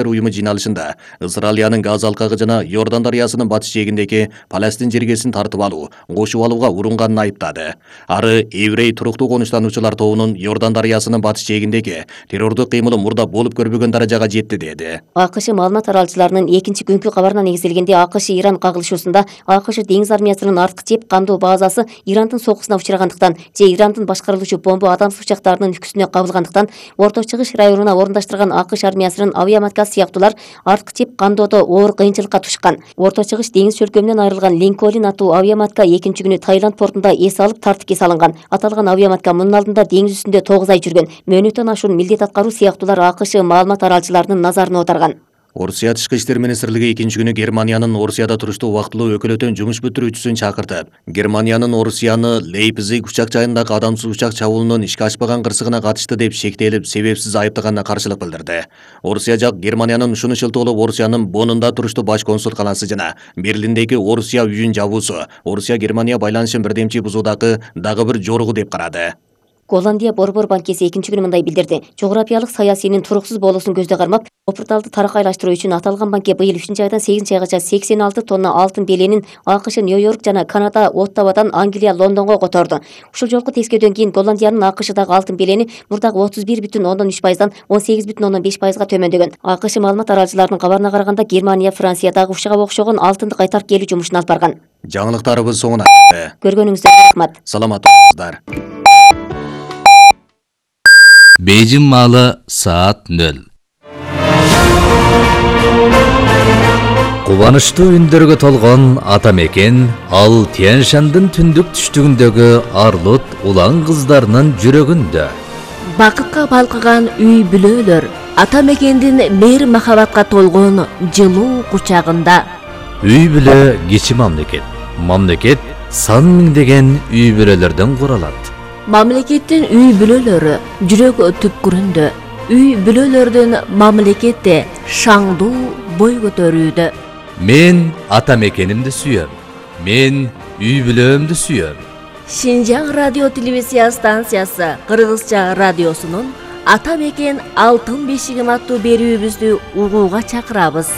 уюму жыйналышында Израилянын Газа алкагы жана Иордан дарыясынын батыш жээгиндеги Палестин жергесин тартып алуу, кошуп алууга урунганын айыптады. Ары еврей туруктуу конуштануучулар тобунун Иордан дарыясынын батыш жээгиндеги террордук кыймылы мурда болуп көрбөгөн даражага жетти деди. АКШ маалымат таралчыларынын экинчи күнкү кабарына негизделгенде АКШ-Иран кагылышуусунда АКШ деңиз армиясынын арткы чеп кандоо базасы Ирандын сокусуна учурагандыктан же Ирандын башкарылуучу бомба адамсыз учактарынын үкүсүнө кабылгандыктан Орто Чыгыш районуна орундаштырган АКШ армиясынын авиаматкасы сыяктуулар арткы чеп кандоодо оор кыйынчылыкка тушкан. Орто Чыгыш деңиз чөлкөмүнөн айрылган Линкольн аттуу авиаматка экинчи күнү Таиланд портунда эс алып тартипке салынган. Аталган авиаматка мунун алдында деңиз үстүндө 9 ай жүргөн. Мөөнөттөн ашуун милдет аткаруу сыяктуулар АКШ маалымат таралчыларынын назарына отарган. Орусия Тышкы иштер министрлиги экинчи күнү Германиянын Орусияда туруштуу убактылуу өкүлөтөн жумуш бүтүрүүчүсүн чакыртып, Германиянын Орусияны Лейпциг учак жайындагы адамсыз учак чабуулунун ишке ашпаган кырсыгына катышты деп шектелип, себепсиз айыптаганына каршылык билдирди. Орусия жак Германиянын ушуну шылтоолоп Орусиянын Боннунда туруштуу баш консулканасы жана Берлиндеги Орусия үйүн жабуусу Орусия Германия байланышын бирдемчи бузуудагы дагы бир жоругу деп карады. Голландия Борбор банкеси экинчи күнү мындай билдирди. Жогорапиялык саясийнин туруксуз болуусун көздө кармап, Опурталды таракайлаштыруу үчүн аталган банке быйыл 3-айдан 8-айгача 86 тонна алтын беленин АКШ, Нью-Йорк жана Канада, Оттавадан Англия, Лондонго которду. Ушул жолку тескөөдөн кийин Голландиянын АКШдагы алтын белени мурдагы 31,3%дан 18,5%га төмөндөгөн. АКШ маалымат таралчыларынын кабарына караганда Германия, Франция дагы ушуга окшогон алтынды кайтарып келүү жумушун алып барган. Жаңылыктарыбыз соңуна көргөнүңүздарга рахмат. Саламат болуңуздар. Бейжин маалы саат 0. Кубанычтуу үндөргө толгон ата мекен ал Тянь-Шандын түндүк түштүгүндөгү арлут улан кыздарынын жүрөгүндө. Бакытка балкыган үй бүлөлөр ата мекендин мейир махабатка толгон жылуу кучагында. Үй бүлө кичи мамлекет. Мамлекет сан миңдеген үй бүлөлөрдөн куралат. Мамлекеттин үй бүлөлөрү жүрөк түпкүрүндө. Үй бүлөлөрдүн мамлекетте шаңдуу бой көтөрүүдө. Мен ата мекенимди сүйөм. Мен үй бүлөмдү сүйөм. Шинжаң радио телевизия станциясы Кыргызча радиосунун Ата мекен алтын бешигим аттуу берүүбүздү угууга чакырабыз.